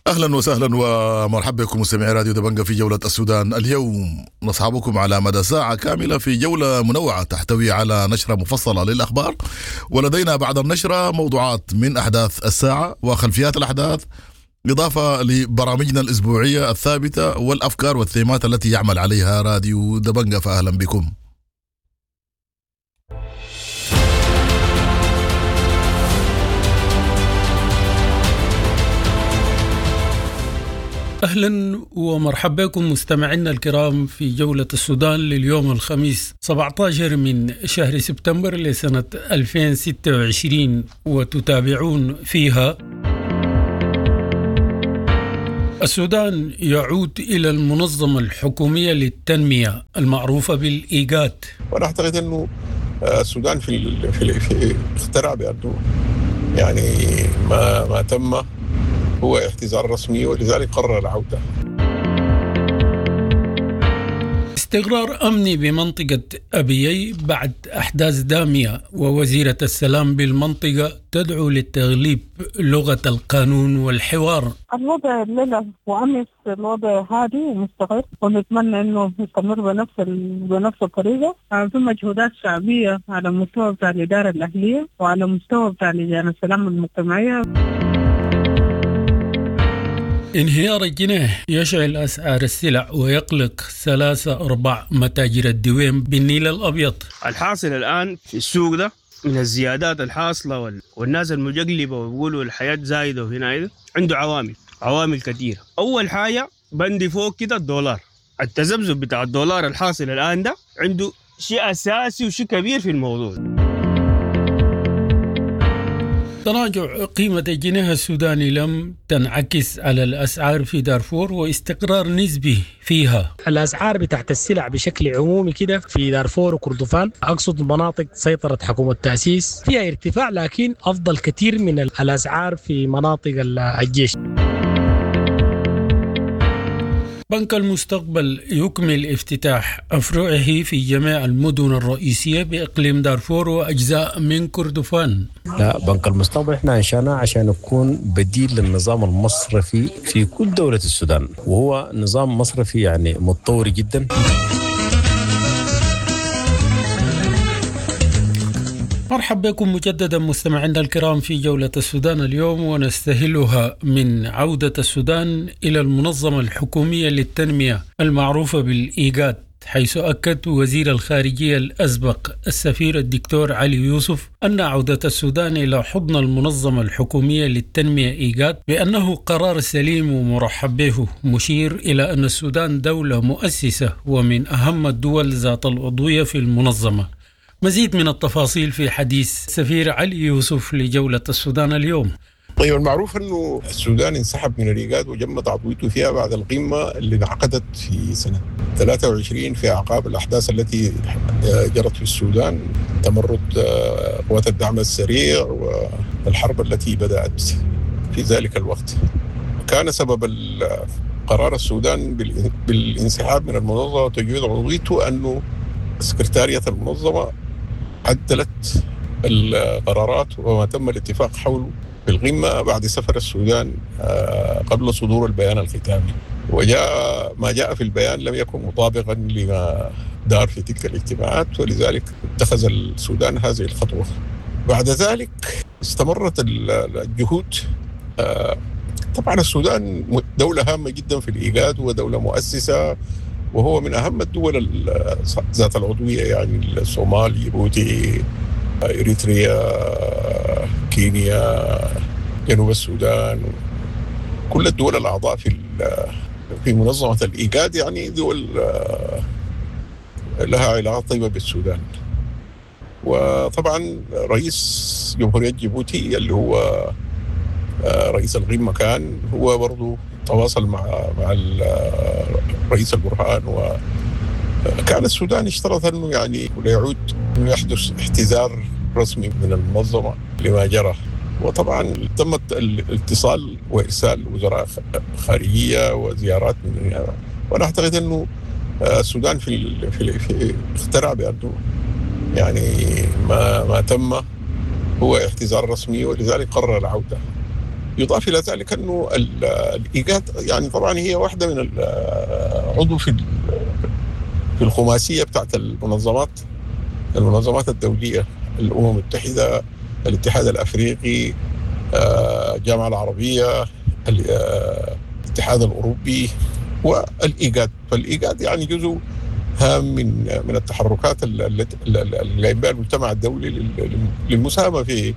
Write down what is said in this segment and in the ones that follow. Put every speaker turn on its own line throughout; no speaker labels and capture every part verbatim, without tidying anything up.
اهلا وسهلا ومرحبا بكم مستمعي راديو دبنجة في جولة السودان اليوم. نصحبكم على مدى ساعة كاملة في جولة منوعة تحتوي على نشرة مفصلة للأخبار، ولدينا بعد النشرة موضوعات من أحداث الساعة وخلفيات الأحداث، إضافة لبرامجنا الأسبوعية الثابتة والأفكار والثيمات التي يعمل عليها راديو دبنجة. فأهلا بكم.
أهلا ومرحبا بكم مستمعينا الكرام في جولة السودان لليوم الخميس سبعة عشر من شهر سبتمبر لسنة ألفين وستة وعشرين، وتتابعون فيها: السودان يعود إلى المنظمة الحكومية للتنمية المعروفة بالإيجاد.
وأنا أعتقد أنه السودان في في في اخترع بأنه يعني ما ما تم هو اعتذار رسمي، ولذلك قرر العودة.
استقرار أمني بمنطقة أبيي بعد أحداث دامية، ووزيرة السلام بالمنطقة تدعو للتغليب لغة القانون والحوار.
الوضع الليلة وأمس الوضع هادي ومستقر، ونتمنى أنه يستمر بنفس بنفس الطريقة. في مجهودات شعبية على مستوى بتاع الإدارة الأهلية وعلى مستوى بتاع لجان السلام المجتمعية.
انهيار الجنيه يشعل أسعار السلع ويقلق ثلاثة أرباع متاجر الدويم بالنيل الأبيض.
الحاصل الآن في السوق ده من الزيادات الحاصلة والناس المجقلبة ويقولوا الحياة زايدة وهنا عنده عوامل عوامل كثيرة. أول حاجة بندي فوق كده الدولار، التذبذب بتاع الدولار الحاصل الآن ده عنده شيء أساسي وشيء كبير في الموضوع.
تراجع قيمة الجنيه السوداني لم تنعكس على الأسعار في دارفور واستقرار نسبي فيها.
الأسعار بتاعت السلع بشكل عمومي كده في دارفور وكردفان، أقصد مناطق سيطرة حكومة التأسيس، فيها ارتفاع لكن أفضل كثير من الأسعار في مناطق الجيش.
بنك المستقبل يكمل افتتاح أفرعه في جميع المدن الرئيسية بإقليم دارفور وأجزاء من كردفان.
لا، بنك المستقبل احنا انشأناه عشان يكون بديل للنظام المصرفي في كل دولة السودان، وهو نظام مصرفي يعني متطور جدا.
مرحبا بكم مجددا مستمعينا الكرام في جولة السودان اليوم، ونستهلها من عودة السودان إلى المنظمة الحكومية للتنمية المعروفة بالإيجاد، حيث أكد وزير الخارجية الأسبق السفير الدكتور علي يوسف أن عودة السودان إلى حضن المنظمة الحكومية للتنمية إيجاد بأنه قرار سليم ومرحب به، مشير إلى أن السودان دولة مؤسسة ومن أهم الدول ذات العضوية في المنظمة. مزيد من التفاصيل في حديث سفير علي يوسف لجولة السودان اليوم.
طيب، المعروف أنه السودان انسحب من الإيجاد وجمد عضويته فيها بعد القمة اللي انعقدت في سنة ثلاثة وعشرين في أعقاب الأحداث التي جرت في السودان، تمرد قوات الدعم السريع والحرب التي بدأت في ذلك الوقت. كان سبب قرار السودان بالانسحاب من المنظمة وتجميد عضويته أنه سكرتارية المنظمة عدلت القرارات وما تم الاتفاق حوله في القمة بعد سفر السودان قبل صدور البيان الختامي، وجاء ما جاء في البيان لم يكن مطابقا لما دار في تلك الاجتماعات، ولذلك اتخذ السودان هذه الخطوة. بعد ذلك استمرت الجهود. طبعا السودان دولة هامة جدا في الإيجاد ودولة مؤسسة، وهو من أهم الدول ذات العضوية، يعني الصومال، جيبوتي، إريتريا، كينيا، جنوب السودان، كل الدول الأعضاء في في منظمة الإيجاد يعني دول لها علاقات طيبة بالسودان. وطبعا رئيس جمهورية جيبوتي اللي هو رئيس القمة كان هو برضو تواصل مع مع رئيس البرهان، وكان السودان اشترط انه يعني لا يعود انه يحدث احتزار رسمي من المنظمه لما جرى. وطبعا تم الاتصال وارسال وزراء خارجيه وزيارات من، وانا اعتقد انه السودان في في في اخترع بانه يعني ما ما تم هو اعتذار رسمي، ولذلك قرر العوده. يضاف الى ذلك انه الايجاد يعني طبعا هي واحدة من العضو في في الخماسيه بتاعت المنظمات المنظمات الدولية، الامم المتحدة، الاتحاد الافريقي، الجامعة العربية، الاتحاد الاوروبي والايجاد. فالايجاد يعني جزء هام من من التحركات اللي قايم بها المجتمع الدولي للمساهمه في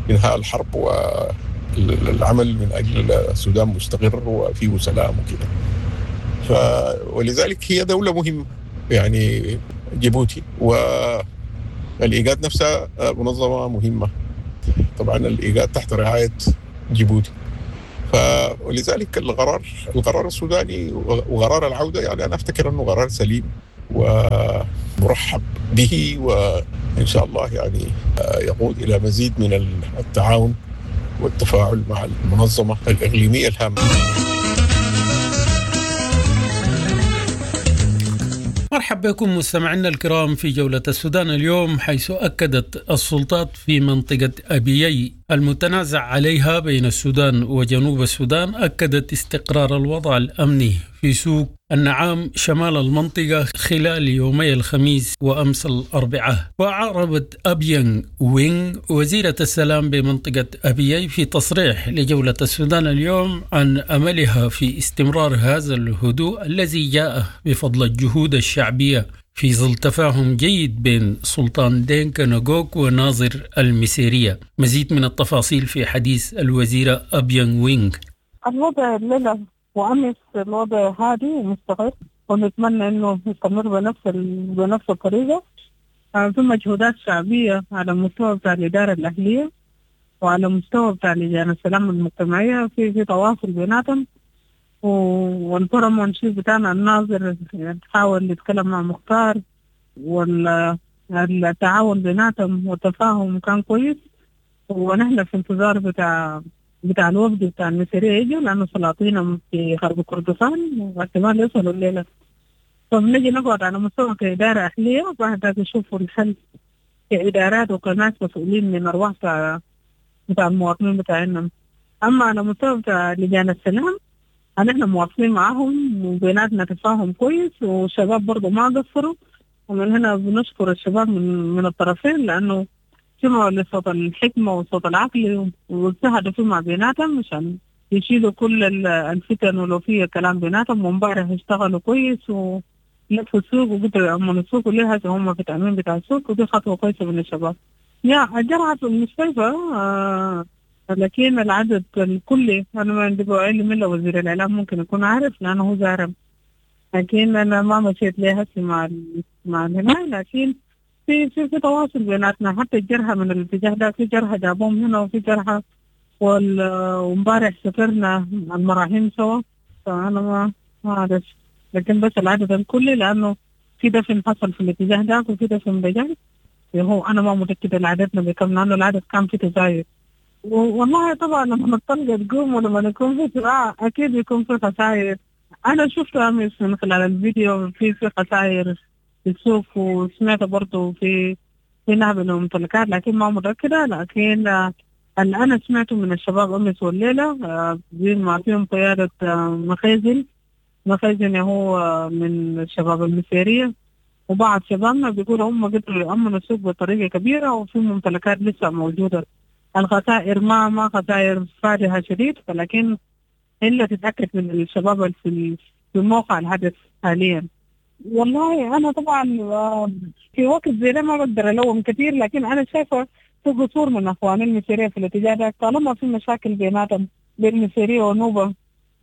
انهاء الحرب والعمل من اجل السودان مستقر وفيه سلام وكده. ف ولذلك هي دولة مهمة يعني جيبوتي، والايجاد نفسها منظمة مهمة. طبعا الايجاد تحت رعاية جيبوتي. ف ولذلك القرار القرار السوداني وقرار العودة يعني انا افتكر انه قرار سليم ومرحب به، وان شاء الله يعني يقود الى مزيد من التعاون والتفاعل مع المنظمة الاقليمية الهامة.
مرحبا بكم مستمعينا الكرام في جولة السودان اليوم، حيث أكدت السلطات في منطقة أبيي المتنازع عليها بين السودان وجنوب السودان أكدت استقرار الوضع الأمني في سوق النعام شمال المنطقة خلال يومي الخميس وأمس الأربعاء. وأعربت أبيان وينغ وزيرة السلام بمنطقة أبيي في تصريح لجولة السودان اليوم عن أملها في استمرار هذا الهدوء الذي جاء بفضل الجهود الشعبية في ظل تفاهم جيد بين سلطان دينكا نغوك وناظر المسيرية. مزيد من التفاصيل في حديث الوزيرة أبيان وينغ.
الوضع الليلة وأمس الوضع هادي ومستقر، ونتمنى إنه يستمر بنفس ال... بنفس الطريقة. في مجهودات شعبية على مستوى بتاع الإدارة الأهلية وعلى مستوى بتاع لجان السلام المجتمعية، في في تواصل بيناتهم. والبرمونشي بتاعنا الناظر حاول يتكلم مع مختار، والتعاون بيناتهم والتفاهم كان كويس. ونحن في انتظار بتاع بتاع الوفد بتاع المسيرية يجوا، لأنه سلاطينهم في غرب كردفان واحتمال يوصلوا الليلة. فبنجي نقعد على مستوى كإدارة أهلية وبعد ذاك يشوفوا الحل كإدارات وكناس مسؤولين من أرواح بتاع بتاع المواطنين بتاعنا. أما على مستوى بتاع لجان السلام نحن مواصلين معاهم وبيناتنا تفاهم كويس، والشباب برضو ما قصروا. ومن هنا بنشكر الشباب من, من الطرفين، لأنه سمعوا لصوت الحكمة وصوت العقل واجتهدوا فيما بيناتهم عشان يشيلوا كل الفتن ولو فيها كلام بيناتهم. وامبارح اشتغلوا كويس ولفوا السوق وقدروا يأمنوا السوق، وليه هم في التأمين بتاع السوق، ودي خطوة كويسة من الشباب. يا الجرعة في المستشفى آه، لكن العدد الكلي أنا ما عندي علم إلا وزير الإعلام ممكن يكون عارف لأنه هو زارم، لكن أنا ما مشيت ليه هسه مع مع الهناي. لكن في في في تواصل بيناتنا، حتى الجرحى من الاتجاه ده في جرحى جابوهم هنا وفي جرحى، وامبارح سافرنا المراحيم سوا. فأنا ما ما أعرف، لكن بس العدد الكلي لأنه في دفن حصل في الاتجاه ده وفي دفن بجانب. هو أنا ما متأكدة العددنا بكم، لأنه العدد كان في تزايد. والله طبعا لما الطلقة تقوم ولما يكون في صراع أكيد يكون في خسائر. أنا شفت أمس من خلال الفيديو في في خسائر في السوق، وسمعت برضه في في نهب الممتلكات، لكن ما متأكدة. لكن اللي أنا سمعته من الشباب أمس والليلة ما فيهم قيادة مخازن مخازن هو من الشباب المسيرية، وبعض شبابنا بيقولوا هم قدروا يأمنوا السوق بطريقة كبيرة، وفي ممتلكات لسه موجودة. الخسائر ما ما خسائر فادحة شديد، ولكن إلا تتأكد من الشباب في في موقع الحدث حاليا. والله أنا طبعا في وقت زي ده ما بقدر ألوم كثير، لكن أنا شايفة في قصور من أخواني المسيرية في الاتجاه ده. طالما في مشاكل بيناتهم بين المسيرية ونوبة،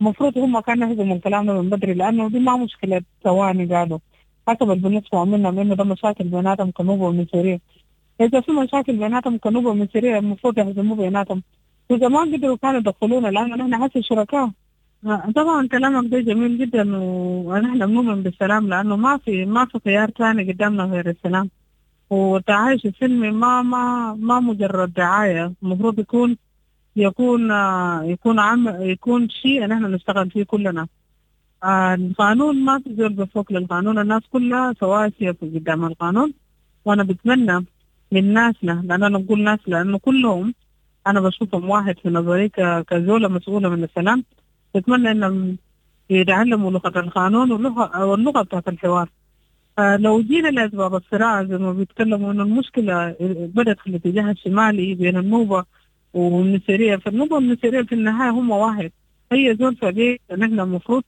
المفروض هم كانوا يهزموا الكلام ده من بدري، لأنه دي ما مشكلة ثواني. قالوا حسب اللي بنسمع منهم إنه ده مشاكل بيناتهم كنوبة ومسيرية. إذا في مشاكل بيناتهم كنوبة ومسيرية المفروض يهزموا بيناتهم، وإذا ما قدروا كانوا يدخلونا، لأنه نحن حسب شركاء. طبعا كلامك ده جميل جدا، ونحن بنؤمن بالسلام، لأنه ما في ما في خيار ثاني قدامنا غير السلام. والتعايش السلمي ما ما ما مجرد دعاية، المفروض يكون يكون يكون عم يكون شيء نحن نشتغل فيه كلنا. القانون ما في زول بفوق للقانون، الناس كلها سواسية قدام القانون. وأنا بتمنى من ناسنا، لأن أنا بقول ناس لأنه كلهم أنا بشوفهم واحد في نظري كزولة مسؤولة من السلام. بتمنى إنهم يتعلموا لغة القانون واللغة واللغة بتاعت الحوار. لو جينا لأسباب الصراع زي ما بيتكلموا إنه المشكلة بدأت في الاتجاه الشمالي بين النوبة والمسيرية، فالنوبة والمسيرية في النهاية هم واحد. هي زول فدي نحن المفروض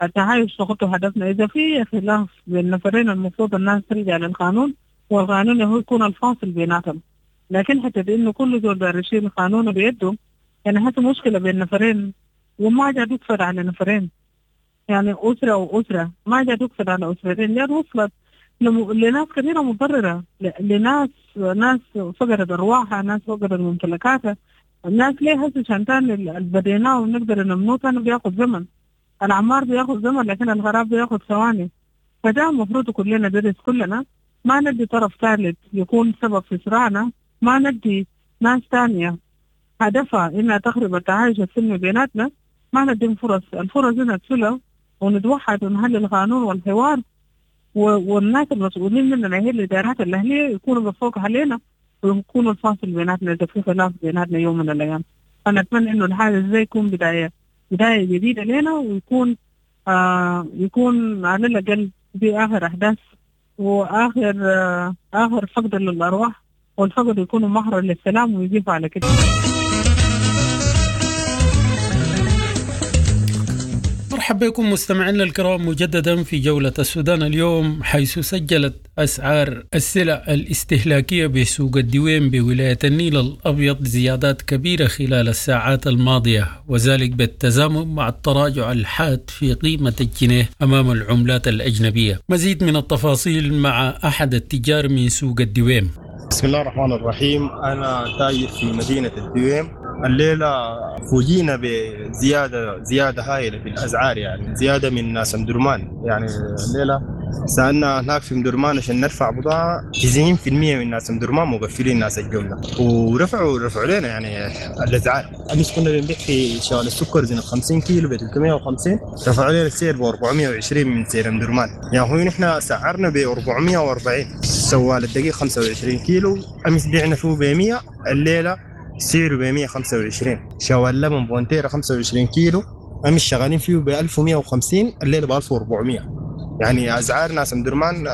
التعايش نحطه هدفنا. إذا في خلاف بين نفرين المفروض الناس ترجع للقانون، والقانون هو يكون الفاصل بيناتهم. لكن حتى إنه كل زول داير يشيل القانون بيده، يعني حتى مشكلة بين نفرين وما جا تقفل على نفرين، يعني أسرة وأسرة ما جا تقفل على أسرتين، لأن وصلت لناس كثيرة مضررة، لناس ناس فقدت أرواحها، ناس فقدت ممتلكاتها، الناس ليه هسه عشان تاني اللي بديناه ونقدر نمنوه تاني بياخد زمن، العمار بياخد زمن لكن الغراب بياخد ثواني. فده المفروض كلنا ندرس، كلنا ما ندي طرف ثالث يكون سبب في صراعنا، ما ندي ناس تانية هدفها إنها تخرب التعايش السلمي بيناتنا، ما نديهم فرص، الفرص دي نقفلها ونتوحد ونحل القانون والحوار، والناس المسؤولين مننا هي الإدارات الأهلية يكونوا بفوق علينا ويكونوا الفاصل بيناتنا إذا في خلاف بيناتنا يوم من الأيام. فأنا أتمنى إنه الحاجة زي يكون بداية بداية جديدة لنا، ويكون آه يكون على الأقل دي آخر أحداث وآخر آه آخر فقد للأرواح، والفقد يكونوا مهرا للسلام ويجيبوا على كده.
مرحبا بكم مستمعينا الكرام مجددا في جولة السودان اليوم، حيث سجلت أسعار السلع الاستهلاكية بسوق الدويم بولاية النيل الأبيض زيادات كبيرة خلال الساعات الماضية، وذلك بالتزامن مع التراجع الحاد في قيمة الجنيه أمام العملات الأجنبية. مزيد من التفاصيل مع أحد التجار من سوق الدويم.
بسم الله الرحمن الرحيم، أنا تاجر في مدينة الدويم. الليلة فوجئنا بزيادة زيادة هائلة في الأسعار، يعني زيادة من ناس مدرمان. يعني الليلة سألنا هناك في مدرمان عشان نرفع بضاعة، تسعين بالمئة من ناس مدرمان مقفلين ناس الجملة، ورفعوا رفعوا لنا يعني الأسعار. أمس كنا بنبيع في شوال السكر زين خمسين كيلو ب ثلاثمئة وخمسين، رفعوا لنا السعر ب أربعمئة وعشرين من سعر مدرمان. يعني هو نحن سعرنا ب أربعمئة وأربعين. سوال الدقيق خمسة وعشرين كيلو أمس بعنا فيه ب مئة، الليلة سعره ب مئة وخمسة وعشرين. شوال لبن بونتيرا خمسة وعشرين كيلو أمس شغالين فيه ب ألف ومئة وخمسين، الليلة ب ألف وأربعمئة. يعني أسعار ناس مدرمان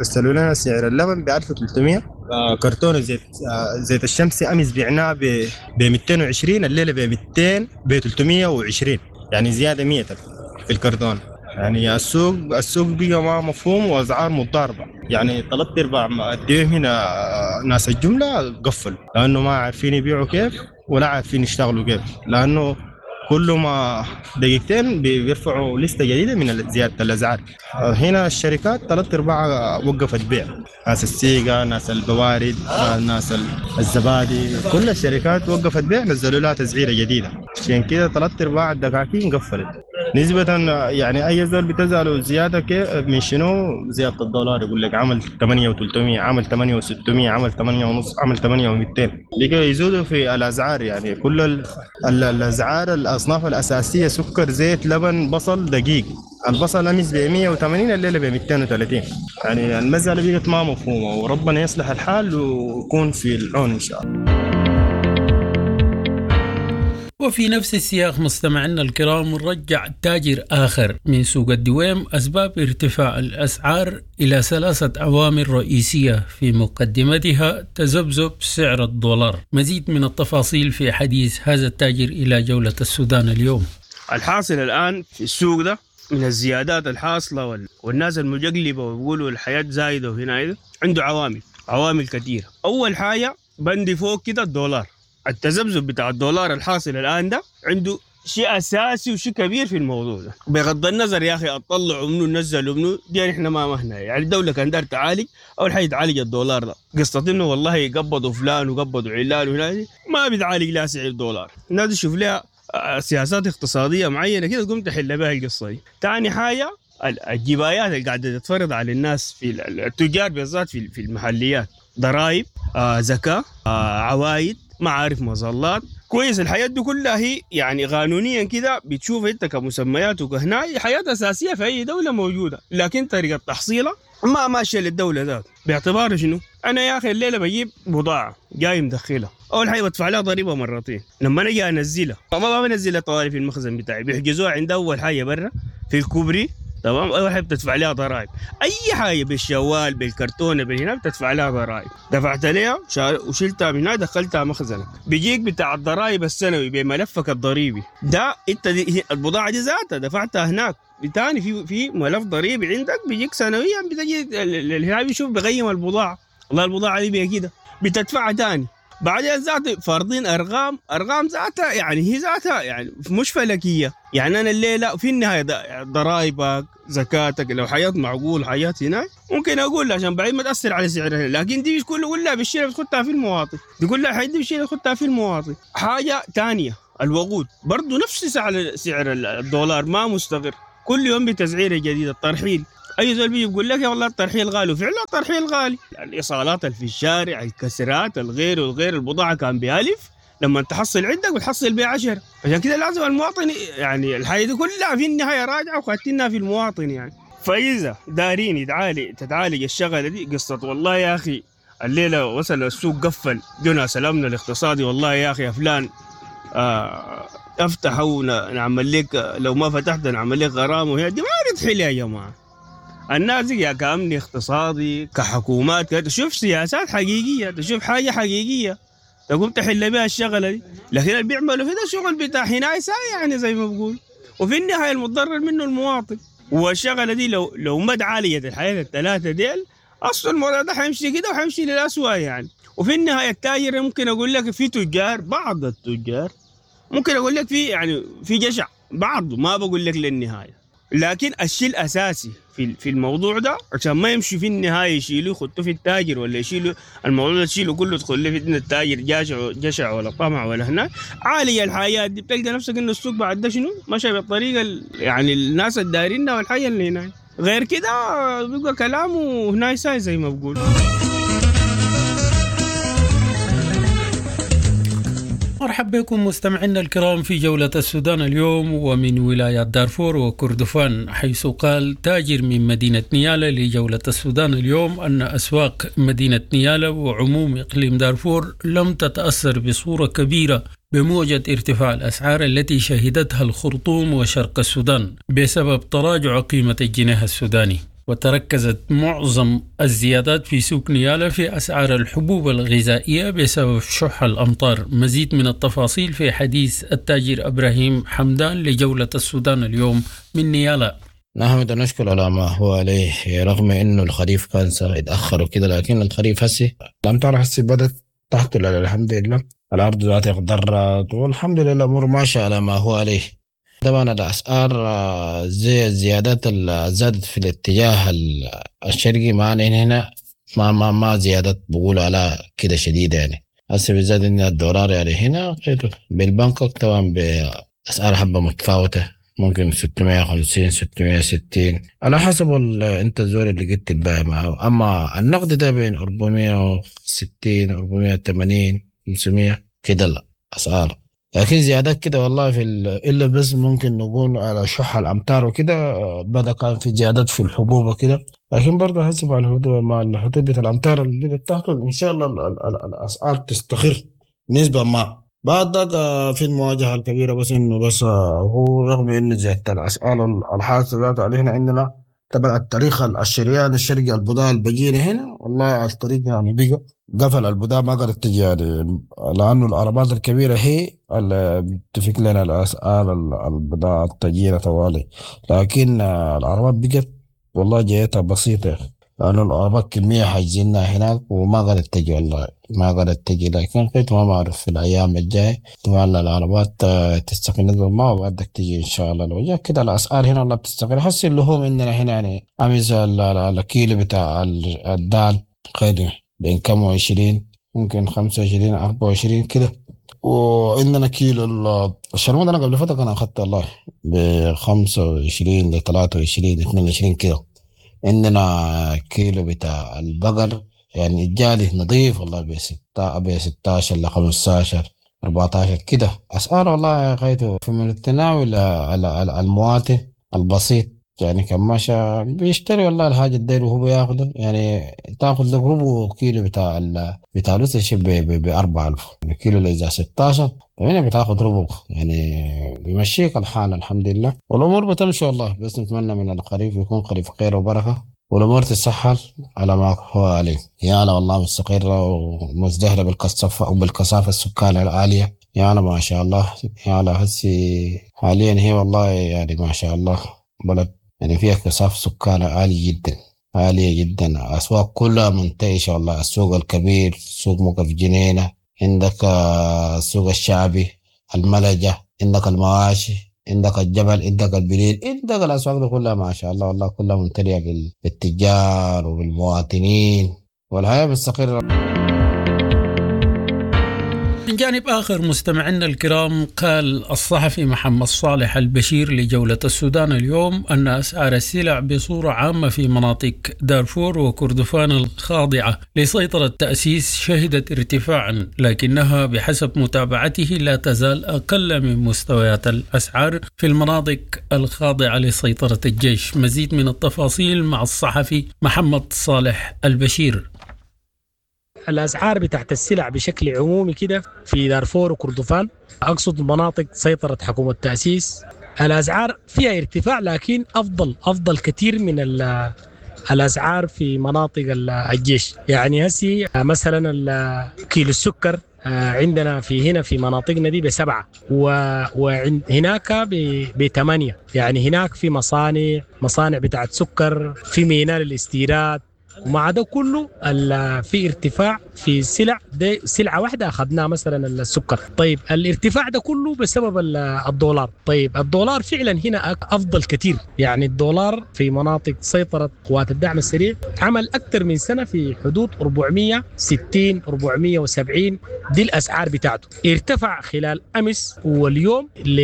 رسلوا لنا سعر اللبن ب ألف وثلاثمئة. كرتون زيت زيت الشمسي أمس بعناه ب مئتين وعشرين، الليلة ب مئتين ب ثلاثمئة وعشرين، يعني زيادة مئة في الكرتون. يعني السوق السوق بقى ما مفهوم واسعار متضاربة. يعني ثلاث ارباع الدويم هنا ناس الجملة قفلوا لانه ما عارفين يبيعوا كيف ولا عارفين يشتغلوا كيف، لانه كل ما دقيقتين بيرفعوا لستة جديدة من زيادة الاسعار. هنا الشركات ثلاث ارباع وقفت بيع، ناس السيقه، ناس البوارد، ناس الزبادي، كل الشركات وقفت بيع، نزلوا لها تسعيره جديدة. عشان كده ثلاث ارباع الدكاكين قفلت. نسبة يعني أي زول بتزعله زيادة كيف من شنو؟ زيادة الدولار، يقول لك عمل ثمانية وثلاثمئة، عمل ثمانية وستمئة، عمل ثمانية ونص، عمل ثمانية ومئتين. لكي يزودوا في الأسعار. يعني كل ال ال الأسعار الأصناف الأساسية سكر، زيت، لبن، بصل، دقيق. البصل أمس ب مئة وثمانين، الليلة ب مئتين وثلاثين. يعني المسألة بقت ما مفهومة، وربنا يصلح الحال ويكون في العون إن شاء الله.
وفي نفس السياق مستمعينا الكرام، رجع تاجر آخر من سوق الدويم أسباب ارتفاع الأسعار إلى ثلاثة عوامل رئيسية في مقدمتها تذبذب سعر الدولار. مزيد من التفاصيل في حديث هذا التاجر إلى جولة السودان اليوم.
الحاصل الآن في السوق ده من الزيادات الحاصلة والناس المجقلبة ويقولوا الحياة زايدة وهنا عنده عوامل عوامل كثيرة. أول حاجة بندي فوق كده الدولار، التذبذب بتاع الدولار الحاصل الآن ده عنده شيء أساسي وشيء كبير في الموضوع ده. بغض النظر يا أخي أطلعوا منه نزلوا منه، دي نحن ما مهنا. يعني الدولة كان دار تعالج، أول حاجة تعالج الدولار ده. قصة إنه والله قبضوا فلان وقبضوا علان وهنا ما بتعالج لا سعر الدولار. الناس تشوف لها سياسات اقتصادية معينة كده تقوم تحل بها القصة دي. تاني حاجة الجبايات اللي قاعدة تتفرض على الناس في التجار بالذات في المحليات، ضرائب، آه، زكاة، آه، عوايد، ما عارف مظلات. كويس الحياة دي كلها هي يعني قانونيا كده بتشوف انت كمسميات وكهنا حياة أساسية في أي دولة موجودة، لكن طريقة تحصيلها ما ماشية للدولة ذات. باعتبار شنو؟ انا يا اخي الليلة بجيب بضاعة جاي مدخلها، اول حاجة بدفع لها ضريبة مرتين، لما انا انزلها ما بنزلها طوالي في المخزن بتاعي، بيحجزوها عند اول حاجة برا في الكوبري، تمام؟ اول حاجة بتدفع لها ضرائب، اي حاجة بالشوال بالكرتونه بالهنا بتدفع لها ضرائب، دفعت لها وشلتها من هنا دخلتها مخزنك، بيجيك بتاع الضرائب السنوي بملفك الضريبي ده، انت دي البضاعة دي ذاتها دفعتها هناك، تاني في في ملف ضريبي عندك بيجيك سنويا، بتجي هنا بيشوف بيقيم البضاعة، والله البضاعة دي كده بتدفعها تاني. بعدين ذات فارضين ارقام، ارقام ذاتها يعني هي ذاتها يعني مش فلكيه، يعني انا الليلة في النهاية ضرائبك زكاتك لو حياة معقول حياة هناك ممكن اقول عشان بعدين ما تاثر على سعرها، لكن دي كلها كلها بالشيء بتخطها في المواطن، دي كلها حاجة دي بالشيء بتخطها في المواطن. حاجة ثانية الوقود برضه نفس سعر سعر الدولار ما مستقر، كل يوم بتسعيره جديدة. الترحيل اي زول بيجي بيقول لك يا والله الترحيل غالي، وفعلا الترحيل غالي، الايصالات اللي في الشارع، الكسرات، الغير والغير، البضاعة كان بألف لما تحصل عندك بتحصل بعشرة، عشان كده لازم المواطن يعني الحاجة دي كلها في النهاية راجعه وخاتينها في المواطن يعني. فاذا دارين يتعالج تتعالج الشغلة دي قصة والله يا اخي الليلة وصل السوق قفل جونا سلامنا الاقتصادي، والله يا اخي يا فلان آه افتح ونعمل لك، لو ما فتحت نعمل لك غرامة، وهي دي ما بتحل يا جماعة. الناس يا كأمن اقتصادي كحكومات تشوف سياسات حقيقية، تشوف حاجة حقيقية تقوم تحل بها الشغلة دي، لكن اللي بيعملوا في ده شغل بتاع هنايسة يعني زي ما بقول، وفي النهاية المتضرر منه المواطن. والشغلة دي لو لو ما تعالجت الحياة الثلاثة ديل أصل الموضوع ده حيمشي كده وحيمشي للأسوأ يعني. وفي النهاية التاجر ممكن أقول لك في تجار، بعض التجار ممكن أقول لك في يعني في جشع بعض، ما بقول لك للنهاية، لكن الشيء الاساسي في في الموضوع ده عشان ما يمشي في النهاية يشيلوا يخطوا في التاجر ولا يشيلوا الموضوع ده تشيله كله تدخل في التاجر جشع جشع ولا طمع ولا هناك. عالية الحياة دي بتلقى نفسك انه السوق بعد ده شنو مشى بالطريقة يعني الناس الدايرينها والحاجة اللي هناك، غير كده بيبقى كلامه هناك ساي زي ما بقول.
مرحبا بكم مستمعينا الكرام في جولة السودان اليوم ومن ولايات دارفور وكردفان، حيث قال تاجر من مدينة نيالا لجولة السودان اليوم أن أسواق مدينة نيالا وعموم إقليم دارفور لم تتأثر بصورة كبيرة بموجة ارتفاع الأسعار التي شهدتها الخرطوم وشرق السودان بسبب تراجع قيمة الجنيه السوداني. وتركزت معظم الزيادات في سوق نيالا في أسعار الحبوب الغذائية بسبب شح الأمطار. مزيد من التفاصيل في حديث التاجر إبراهيم حمدان لجولة السودان اليوم من نيالا.
نحمد ونشكر على ما هو عليه، رغم انه الخريف كان اتاخر وكده، لكن الخريف هسي الامطار هسي بدت تحصل الحمد لله، الارض ذاتها اخضرت والحمد لله الامور ماشية على ما هو عليه. طبعا الاسعار زي الزيادات اللي زادت في الاتجاه الشرقي معنا هنا ما ما ما زيادات بقول على كده شديدة يعني. هسه بالذات ان الدولار يعني هنا بالبنكوك طبعا باسعار حبه متفاوتة، ممكن ستمية وخمسين ستمية وستين على حسب انت الزول اللي قلت تبيع معه. اما النقد ده بين أربعمية وستين أربعمية وثمانين خمسمية كده الاسعار، لكن زيادات كده والله في الا بس ممكن نقول على شح الامطار وكده بدا كان في زيادات في الحبوب وكده، لكن برضه حسب على الهدوء مع الحدود الامطار اللي بدات تحصل ان شاء الله الاسعار تستقر نسبه ما. بعد ذاك في المواجهة الكبيرة بس انه بس هو رغم انه زيادة الاسعار الحاصلة ذات علينا عندنا تبع التاريخ الشريان الشرقي البضاعة البجيري هنا والله الطريق يعني بقى قفل البضاعة ما قدرت تجي يعني، لأنه العربات الكبيرة هي اللي بتفك لنا الأسعار البضاعة التجيرة طوالي، لكن العربات بقت والله جايتها بسيطة لأنه العربات كمية حاجزينها هناك وما قدرت تجي والله ما قدرت تجي، لكن قلت ما بعرف في الأيام الجاية طبعا العربات تستقر نسبة ما وبعدك تجي إن شاء الله. لو جاء كده الأسعار هنا والله بتستقر. حس اللحوم عندنا هنا يعني أمس الكيلو بتاع الدال خير بين كم وعشرين ممكن خمسة وعشرين أربعة وعشرين كده، وعندنا كيلو الشرموط أنا قبل فترة أنا أخذت الله بخمسة وعشرين لثلاثة وعشرين اثنين وعشرين كده. عندنا كيلو بتاع البقر يعني الجالي نظيف والله بستة بستاشر لخمستاشر أربعتاشر كده أسعار والله غايته في من التناول المواطن البسيط. يعني كان ماشى بيشتري والله الحاجة الداير وهو بياخده، يعني تاخذ لك ربع كيلو بتاع ال... بتاع رز ب أربعة آلاف الكيلو إذا ستاشر هنا بتاخذ ربع، يعني بيمشيك الحال الحمد لله، والأمور بتمشي والله. بس نتمنى من الخريف يكون خريف خير وبركة، والأمور تتسهل على ما هو عليه. يا والله مستقرة ومزدهرة بالكثافة وبالكثافة السكان العالية، يا ما شاء الله. يا هسي حاليا هي والله يعني ما شاء الله بلد يعني فيها كثافة سكان عالية جدا عالية جدا، أسواق كلها منتعشة والله. السوق الكبير، سوق موقف جنينة، عندك السوق الشعبي، الملجة، عندك المواشي، عندك الجبل، عندك البليل، عندك الأسواق دي كلها ما شاء الله والله كلها ممتلئة بالتجار وبالمواطنين، والحياة مستقرة.
من جانب آخر مستمعينا الكرام، قال الصحفي محمد صالح البشير لجولة السودان اليوم أن أسعار السلع بصورة عامة في مناطق دارفور وكردفان الخاضعة لسيطرة التأسيس شهدت ارتفاعا، لكنها بحسب متابعته لا تزال أقل من مستويات الأسعار في المناطق الخاضعة لسيطرة الجيش. مزيد من التفاصيل مع الصحفي محمد صالح البشير.
الأسعار بتاعت السلع بشكل عمومي كده في دارفور وكردفان، أقصد مناطق سيطرة حكومة التأسيس، الأسعار فيها ارتفاع لكن أفضل أفضل كثير من الأسعار في مناطق الجيش. يعني هسي مثلا كيلو السكر عندنا في هنا في مناطقنا دي بسبعة وهناك بثمانية. يعني هناك في مصانع مصانع بتاعت سكر، في ميناء للاستيراد، ومع ده كله في ارتفاع في السلع. دي سلعة واحدة أخذناها مثلا السكر. طيب الارتفاع ده كله بسبب الدولار. طيب الدولار فعلا هنا أفضل كثير. يعني الدولار في مناطق سيطرة قوات الدعم السريع عمل أكثر من سنة في حدود أربعمية وستين أربعمية وسبعين، دي الأسعار بتاعته. ارتفع خلال أمس واليوم ل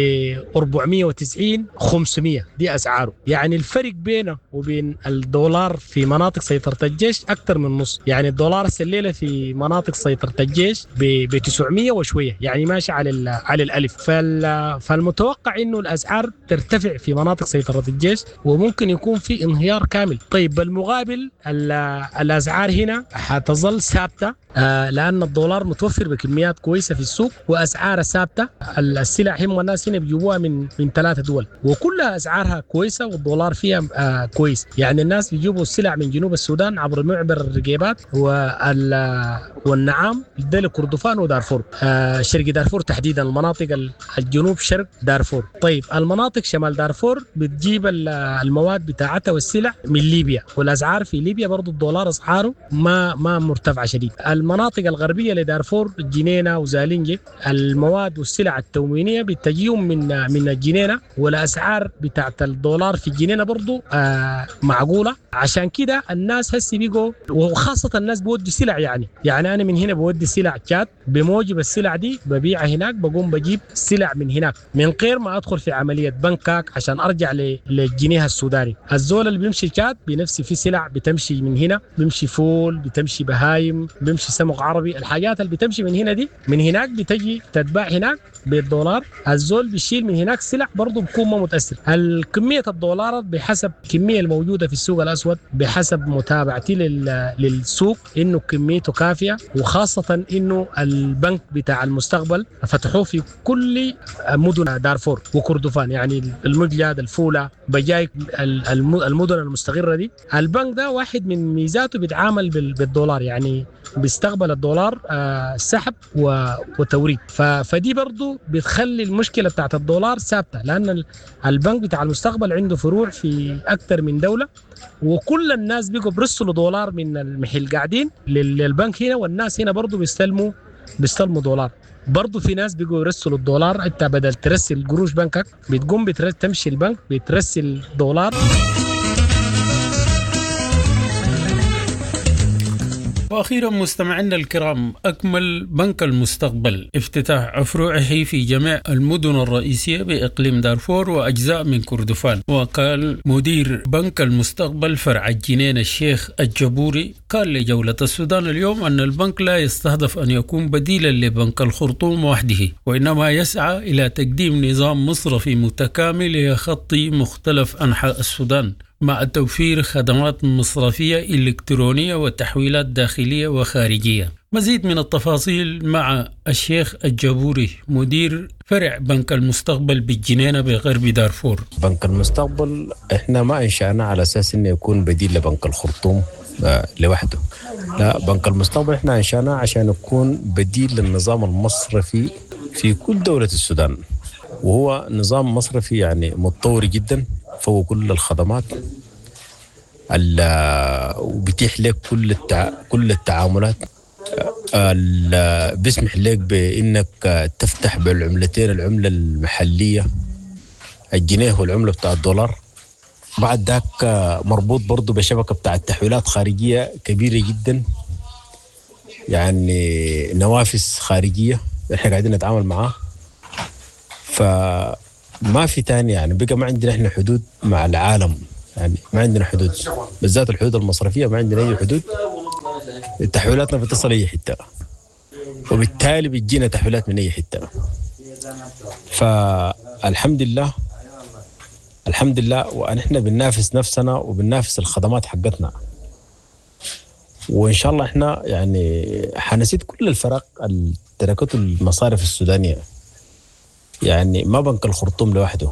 أربعمية وتسعين خمسمية، دي أسعاره. يعني الفرق بينه وبين الدولار في مناطق سيطرة الجيش أكثر من نص. يعني الدولار الليلة في مناطق سيطرة الجيش ب تسعمية وشوية، يعني ماشي على على الألف. فالمتوقع إنه الأسعار ترتفع في مناطق سيطرة الجيش وممكن يكون في انهيار كامل. طيب بالمقابل الأسعار هنا حتظل ثابتة لأن الدولار متوفر بكميات كويسة في السوق وأسعارها ثابتة. السلع هم الناس هنا بيجيبوها من من ثلاثة دول وكلها أسعارها كويسة والدولار فيها كويس. يعني الناس بيجيبوا السلع من جنوب السودان عبر معبر الرقيبات والنعام ده كردفان ودارفور، شرق دارفور تحديدا، المناطق الجنوب شرق دارفور. طيب المناطق شمال دارفور بتجيب المواد بتاعتها والسلع من ليبيا، والأسعار في ليبيا برضو الدولار أسعاره ما ما مرتفعة شديد. المناطق الغربية لدارفور جنينة وزالينجي المواد والسلع التموينية بتجيهم من من الجنينة، والأسعار بتاعت الدولار في الجنينة برضو آه معقولة. عشان كده الناس هسي بيجوا، وخاصة الناس بودي سلع. يعني يعني أنا من هنا بودي سلع تشاد، بموجب السلع دي ببيعها هناك، بقوم بجيب سلع من هناك من غير ما أدخل في عملية بنكاك عشان أرجع للجنيه السوداني. الزول اللي بيمشي تشاد بنفسي في سلع بتمشي من هنا، بيمشي فول، بتمشي بهايم، بيمشي سمك عربي، الحاجات اللي بتمشي من هنا دي من هناك بتجي تتباع هناك بالدولار. الزول بيشيل من هناك سلع برضه بكون ما متأثر. الكمية الدولارات بحسب الكمية الموجودة في السوق الأسود، بحسب متابعتي للسوق إنه كميته كافية، وخاصة إنه البنك بتاع المستقبل فتحوه في كل مدن دارفور وكردفان، يعني المجلد، الفولة، بجاي، المدن المستقرة دي. البنك ده واحد من ميزاته بيتعامل بالدولار، يعني بيستقبل الدولار سحب وتوريد. فدي برضو بتخلي المشكلة بتاعت الدولار ثابتة، لأن البنك بتاع المستقبل عنده فروع في أكثر من دولة، وكل الناس بيجوا برسلوا دولار من المحل قاعدين للبنك هنا، والناس هنا برضو بيستلموا بيستلموا دولار. برضو في ناس بيجوا يرسلوا الدولار، انت بدل ترسل قروش بنكك بتقوم بترسل تمشي البنك بترسل دولار.
وأخيرا مستمعينا الكرام، أكمل بنك المستقبل افتتاح فروعه في جميع المدن الرئيسية بإقليم دارفور وأجزاء من كردفان. وقال مدير بنك المستقبل فرع الجنين الشيخ الجبوري قال لجولة السودان اليوم أن البنك لا يستهدف أن يكون بديلا لبنك الخرطوم وحده، وإنما يسعى إلى تقديم نظام مصرفي متكامل يخطي مختلف أنحاء السودان مع توفير خدمات مصرفية إلكترونية وتحويلات داخلية وخارجية. مزيد من التفاصيل مع الشيخ الجبوري مدير فرع بنك المستقبل بالجنينة بغرب دارفور.
بنك المستقبل احنا ما انشأناه على اساس انه يكون بديل لبنك الخرطوم لوحده، لا، بنك المستقبل احنا انشأناه عشان يكون بديل للنظام المصرفي في كل دولة السودان، وهو نظام مصرفي يعني متطور جدا فوق كل الخدمات وبيتيح لك كل التع... كل التعاملات، بيسمح لك بانك تفتح بالعملتين، العمله المحليه الجنيه والعمله بتاع الدولار. بعد ذاك مربوط برضه بشبكه بتاع التحويلات خارجيه كبيره جدا، يعني نوافذ خارجيه احنا قاعدين نتعامل معاه. فما في تاني يعني بقى ما عندنا احنا حدود مع العالم، يعني ما عندنا حدود، بالذات الحدود المصرفيه ما عندنا اي حدود. تحويلاتنا بتصل اي حته، وبالتالي بتجينا تحويلات من اي حته. فالحمد لله الحمد لله، ونحن بننافس نفسنا وبننافس الخدمات حقتنا، وان شاء الله احنا يعني حنسيد كل الفرق اللي تركته المصارف السودانيه. يعني ما بنك الخرطوم لوحده،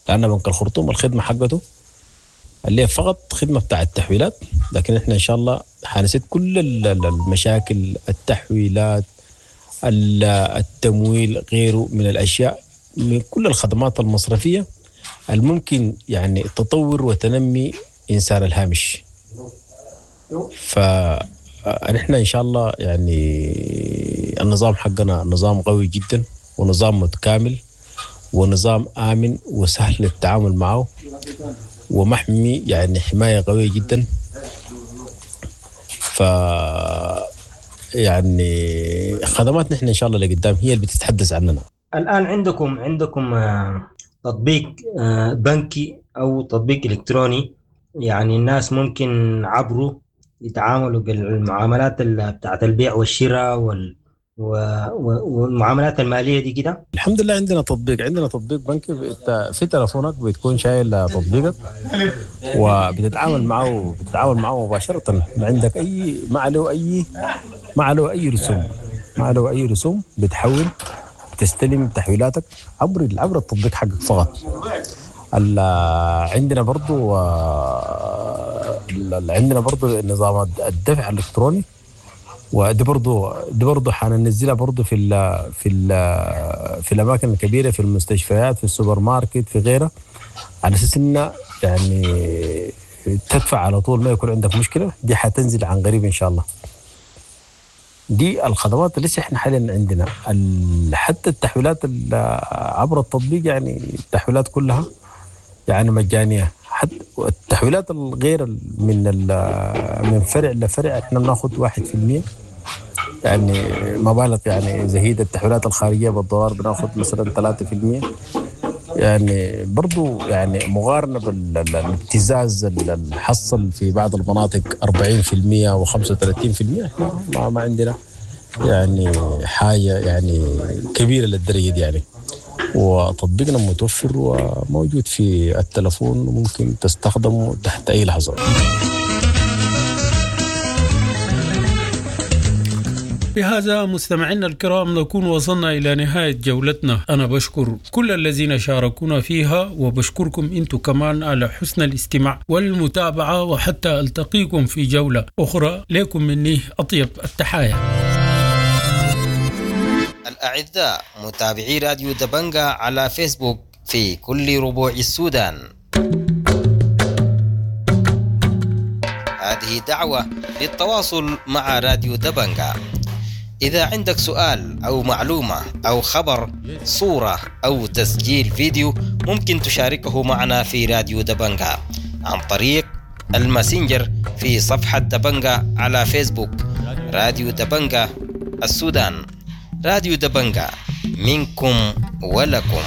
لان بنك الخرطوم الخدمه حقته اللي هي فقط خدمه بتاع التحويلات، لكن احنا ان شاء الله حنسد كل المشاكل، التحويلات، التمويل، غيره من الاشياء، من كل الخدمات المصرفيه الممكن يعني تطور وتنمي انسان الهامش. فنحن ان شاء الله يعني النظام حقنا نظام قوي جدا، ونظام متكامل، ونظام آمن وسهل التعامل معه، ومحمي يعني حماية قوية جدا. ف يعني خدمات نحن إن شاء الله لقدام هي اللي بتتحدث عننا.
الآن عندكم عندكم تطبيق بنكي أو تطبيق إلكتروني، يعني الناس ممكن عبره يتعاملوا بالمعاملات بتاعت البيع والشراء وال والمعاملات الماليه دي كده؟
الحمد لله عندنا تطبيق، عندنا تطبيق بنكي في تلفونك، بتكون شايل تطبيقك وبتتعامل معه، بتتعامل معه مباشره، ما عندك اي، ما عليه اي، ما عليه اي رسوم، ما عليه اي رسوم. بتحول، بتستلم تحويلاتك عبر عبر التطبيق حقك فقط. عندنا برضو عندنا برضو نظام الدفع الالكتروني، ودي برضو دي برضو حننزلها برضو في ال في ال في الاماكن الكبيره، في المستشفيات، في السوبر ماركت، في غيرها، على اساس ان يعني تدفع على طول ما يكون عندك مشكله. دي حتنزل عن قريب ان شاء الله. دي الخدمات اللي لسه احنا حاليا عندنا. حتى التحويلات عبر التطبيق، يعني التحويلات كلها يعني مجانيه، حتى التحويلات الغير من من فرع لفرع احنا بناخذ واحد في المية، يعني مبالغ يعني زهيدة. التحويلات الخارجية بالدولار بناخذ مثلا ثلاثة في المية، يعني برضو يعني مقارنة بالابتزاز اللي حصل في بعض المناطق أربعين في المية وخمسة وثلاثين في المية، احنا ما, ما عندنا يعني حاجة يعني كبيرة للدرجة دي يعني. وتطبيقنا متوفر وموجود في التلفون، وممكن تستخدمه تحت أي لحظة.
بهذا مستمعينا الكرام نكون وصلنا إلى نهاية جولتنا. أنا بشكر كل الذين شاركونا فيها، وبشكركم أنتم كمان على حسن الاستماع والمتابعة، وحتى ألتقيكم في جولة أخرى. لكم مني أطيب التحايا.
الأعزاء متابعي راديو دبنجا على فيسبوك في كل ربوع السودان، هذه دعوة للتواصل مع راديو دبنجا. إذا عندك سؤال أو معلومة أو خبر، صورة أو تسجيل فيديو، ممكن تشاركه معنا في راديو دبنجا عن طريق الماسنجر في صفحة دبنجا على فيسبوك، راديو دبنجا السودان. راديو دبنجا، منكم ولكم.